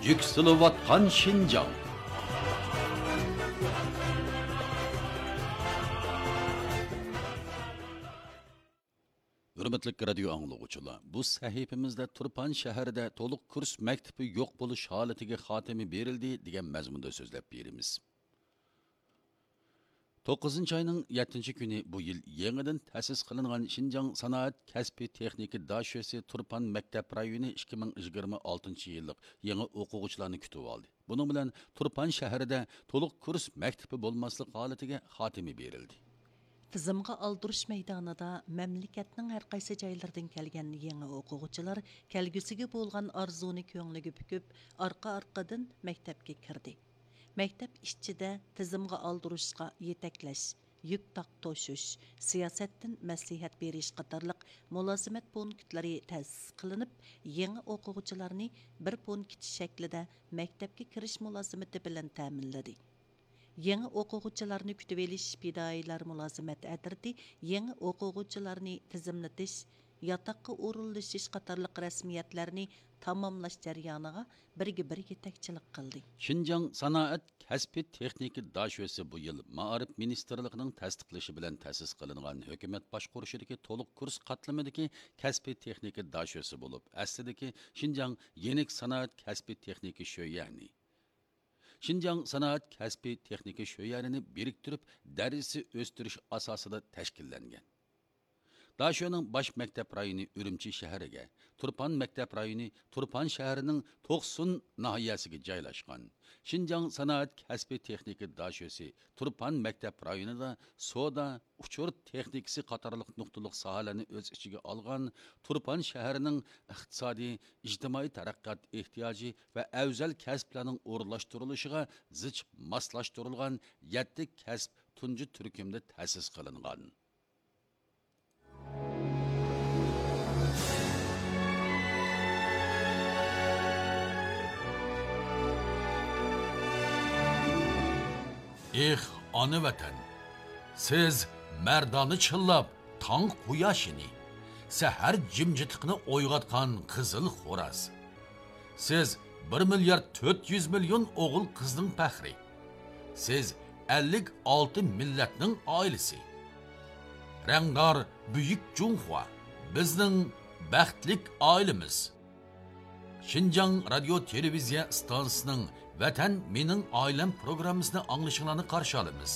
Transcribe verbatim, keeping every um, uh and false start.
يۈكسىلىۋاتقان شىنجاڭ. ھۆرمەتلىك رادىيو ئاڭلىغۇچىلار، بۇ سەھىپىمىزدە تۇرپان شەھىرىدە تولۇق كۇرس مەكتىپى يوق بولۇش ھالىتىگە خاتىمە بېرىلدى دېگەن مەزمۇندا سۆزلەپ بېرىمىز. توققۇزىنچى ئاينىڭ يەتتىنچى كۈنى بۇ يىل يېڭىدىن تەسىس قىلىنغان شىنجاڭ سانائەت كەسپىي تېخنىكا داشۆسى تۇرپان مەكتەپ رايونى ئىككى مىڭ يىگىرمە ئالتىنچى يىللىق يېڭى ئوقۇغۇچىلارنى كۈتۈۋالدى. بۇنىڭ بىلەن تۇرپان شەھىرىدە تولۇق كۇرس مەكتىپى بولماسلىق ھالىتىگە خاتىمە بېرىلدى. تىزىمغا ئالدۇرۇش مەيدانىدا مەملىكەتنىڭ ھەر قايسى جايلىرىدىن كەلگەن يېڭى ئوقۇغۇچىلار كەلگۈسىگە بولغان ئارزۇنى كۆڭلىگە پۈكۈپ، ئارقا-ئارقىدىن مەكتەپكە كىردى. مەكتەپ ئىچىدە تىزىمغا ئالدۇرۇشقا يېتەكلەش، يۈك تاق توشۇش، سىياسەتتىن مەسلىھەت بېرىش قاتارلىق مۇلازىمەت پونكىتلىرى تەسىس قىلىنىپ، يېڭى ئوقۇغۇچىلارنى بىر پونكىت شەكلىدە مەكتەپكە كىرىش مۇلازىمىتى بىلەن تەمىنلىدى. يېڭى ئوقۇغۇچىلارنى كۈتۈۋېلىش پىدائىيلار مۇلازىمەت ئەترىتى يېڭى ئوقۇغۇچىلارنى تىزىملىتىش، ياتاققا ئورۇنلىشىش قاتارلىق رەسمىيەتلەرنى تاماملاش جەريانىغا بىرگە بىر يېتەكچىلىك قىلدى. شىنجاڭ سانائەت كەسپىي تېخنىكا داشۆسى بۇ يىل مائارىپ مىنىستىرلىقىنىڭ تەستىقلىشى بىلەن تەسىس قىلىنغان ھۆكۈمەت باشقۇرۇشىدىكى تولۇق كۇرس قاتلىمىدىكى كەسپىي تېخنىكا داشۆسى بولۇپ، ئەسلىدىكى شىنجاڭ يېنىك سانائەت كەسپىي تېخنىكا شۆيەنى، شىنجاڭ سانائەت كەسپىي تېخنىكا شۆيەنىنى بىرىكتۈرۈپ، دەرىجىسى ئۆستۈرۈش ئاساسىدا تەشكىللەنگەن. داشۆنىڭ باش مەكتەپ رايونى ئۈرۈمچى شەھىرىگە، تۇرپان مەكتەپ رايونى تۇرپان شەھىرىنىڭ توقسۇن ناھىيەسىگە جايلاشقان. شىنجاڭ سانائەت كەسپىي تېخنىكا داشۆسى تۇرپان مەكتەپ رايونىدا سودا، ئۇچۇر تېخنىكىسى قاتارلىق نۇقتىلىق ساھەلەرنى ئۆز ئىچىگە ئالغان تۇرپان شەھىرىنىڭ ئىقتىسادىي، ئىجتىمائىي تەرەققىيات ئېھتىياجى ۋە ئەۋزەل كەسىپلەرنىڭ ئورۇنلاشتۇرۇلۇشىغا زىچ ماسلاشتۇرۇلغان يەتتە كەسىپ تۇنجى تۈركۈمدە تەسىس قىلىنغان. ئېھ، ئانا ۋەتەن! سىز مەردانە چىللاپ تاڭ قۇياشىنى، سەھەر جىمجىتلىقىنى ئويغاتقان قىزىل خوراز. سىز بىر مىليارد تۆت يۈز مىليون ئوغۇل قىزنىڭ پەخرى. سىز ئەللىك ئالتە مىللەتنىڭ ئائىلىسى. رەڭدار بۈيۈك جۇڭخۇا، بىزنىڭ بەختلىك ئائىلىمىز. شىنجاڭ رادىيو تېلېۋىزىيە ئىستانسىسىنىڭ ۋەتەن مېنىڭ ئائىلەم پروگراممىسىنى ئاڭلىشىڭلارنى قارشى ئالىمىز.